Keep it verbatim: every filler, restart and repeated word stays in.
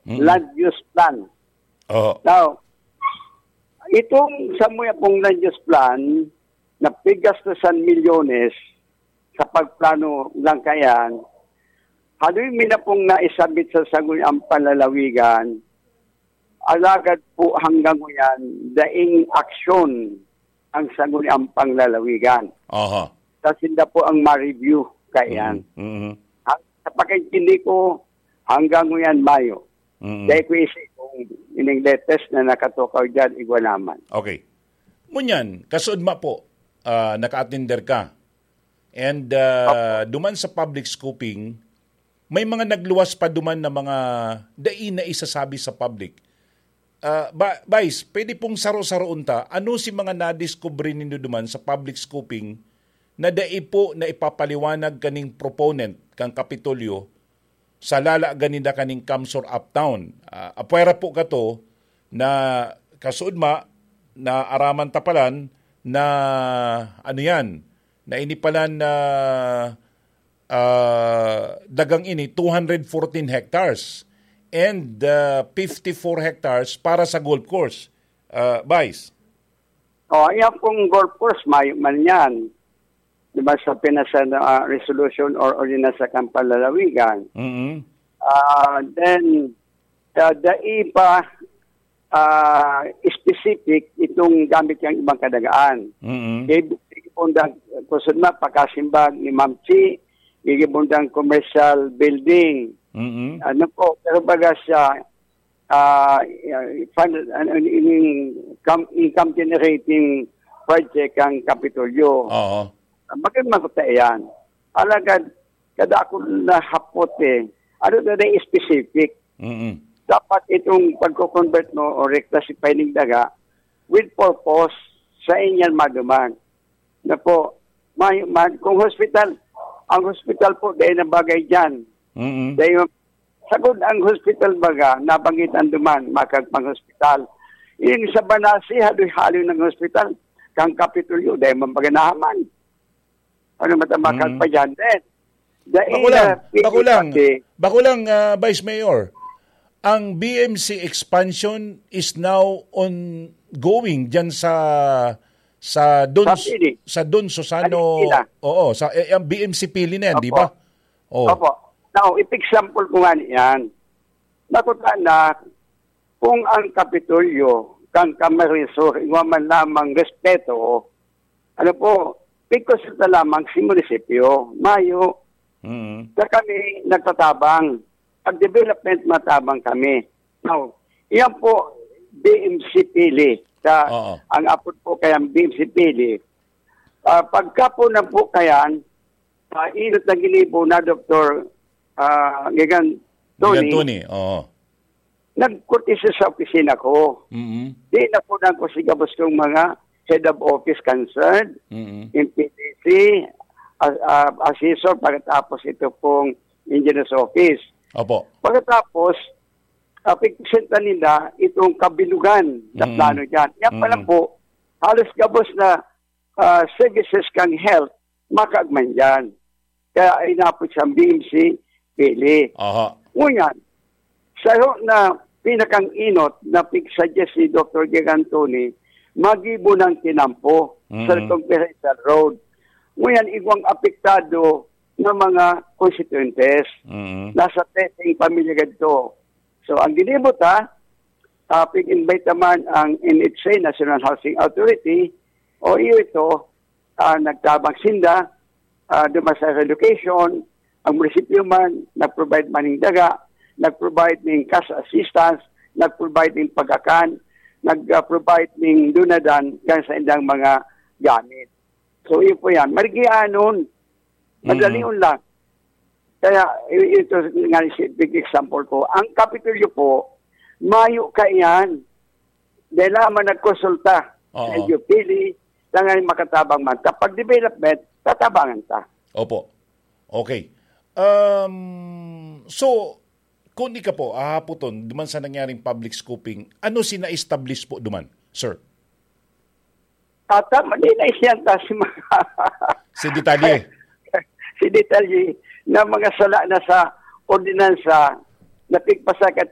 Mm. Land use plan. Oo. Now, itong samuya pong land use plan na piggastusan milyones sa pagplano lang kayan, haloy mi na pong naisabit sa Sangguniang Panlalawigan, alagad po hanggang ngayon, daing aksyon ang Sangguniang Panlalawigan. Aha. Sa sinda po ang ma-review kayan. Mhm, mhm. Ang, sa pagkaintindi ko, hanggang ngayon, mayo. Mm. Dai ko isi kung ining latest na nakatukaw dyan, igwa naman. Okay. Ngunyan, kasuodma po, ah, naka-attender ka. And, ah, Opo. Duman sa public scoping, may mga nagluwas pa duman na mga dai na isasabi sa public. Ah, ba, Vice, pwede pong saro-saroon ta, ano si mga nadiskubre nindo duman sa public scoping na dai po na ipapaliwanag kaning proponent kan Kapitolyo sa lala gani na kaning CamSur Uptown. Ah, apwera po kato na kasuodma na araman tapalan na ano yan, na inipalan na, ah, dagang ini two hundred fourteen hectares and, ah, fifty-four hectares para sa golf course. Ah, Vice? Oh, yan pong golf course, mayo man yan. Di ba, sa pinasa na, ah, resolution or ordinance sa Kampalalawigan. Mm-mm. Ah, then, ah, dai pa, ah, specific itong gamit yang ibang kadagaan. Mm-mm. Kay, kung da-, kusog na, pagkasimbag ni Ma'am Chi, gigibundang commercial building. Mm-mm. Ano po, pero baga siya, ah, fan-, ano, in-, in-, income, income generating project ang Kapitolyo. Oo. Magandang makita yan. Alagad, kada ako nahapot eh, ano na na specific? Mm-mm. Dapat itong pagko-convert mo o reclassify ning daga with purpose sa inyan maduman. Na po, may, man, kung hospital, ang hospital po, dahil na bagay dyan. Mm-mm. Dahil sagod ang hospital baga, nabanggit ang duman, makagpang hospital. Yung sa Banasi, haloy-haloy ng hospital, kang Kapitolyo, dahil man baga nahaman. Ano matamakal Mm. pa dyan? Then, dahil Bako lang, na bako lang, pati bako lang, ah, Vice Mayor. Ang B M C expansion is now ongoing dyan sa, sa Don, Sa Pili. sa Don Susano. Sa Pili. Oo, sa, eh, ang B M C Pili na yan, Opo. di ba? Oh. Opo. Now, if example ko nga niyan, nakuta na kung ang Kapitolyo, kang Camarines Sur, igwa man lamang respeto, ano po, pigkonsulta lamang si munisipyo, mayo, Mm. na kami nagtatabang. Pag development, matabang kami. Now, iyan po, B M C Pili. Sa, Oo. ang apod po kaya B M C Pili. Ah, pagka po na po kayan, ah, inot na ginibo na Doktor, ah, Gigan Tony, Gigan Tony, oo. nagkurtisa sa opisina ko. Mm-mm. Di na po nang ko si gabos kong mga head of office concerned, Mm-mm. yung P D C, ah, ah, assessor, pagkatapos ito pong engineer's office. Opo. Pagkatapos, ah, pigpresenta nila itong kabilugan na Mm. plano dyan. Yan pa lang Mm. po, halos gabos na, ah, services kang health, makaagman dyan. Kaya inapod siyang B M C, Pili. Aha. Ngunyan, sa na pinakang inot na pigsuggest ni Doktor Gig Anthony, magibo ng kinampo sa Mm. Circumferential Road. Ngunyan, igwang apektado ng mga konstituyentes. Mm. Nasa testing pamilya gadto. So, ang ginibo ta, ah, pig-invite naman ang N H A, National Housing Authority, o iyo ito, ah, nagtabang sinda, ah, duman sa relocation, ang munisipyo man, nag-provide man ning daga, nag-provide ning cash assistance, nag-provide ning pagakan, nag-provide ning dunadan kan sa indang mga gamit. So, yun po yan. Marigianon, Mm. madalion lang. Kaya, i-, ito nga si big example ko. Ang Kapitolyo po, mayo kaiyan. Dahil lamang nagkonsulta Oo. sa L G U Pili, tanganing makatabang man. Kapag development, tatabangan ta. Opo. Okay. Um, so, kung ika po, ahapoton, duman sa nangyaring public scoping, ano si na-establish po duman, sir? Ata, mali na isyan ta si mga Si detalye. si detalye na mga sala na sa ordinansa na pigpasa kat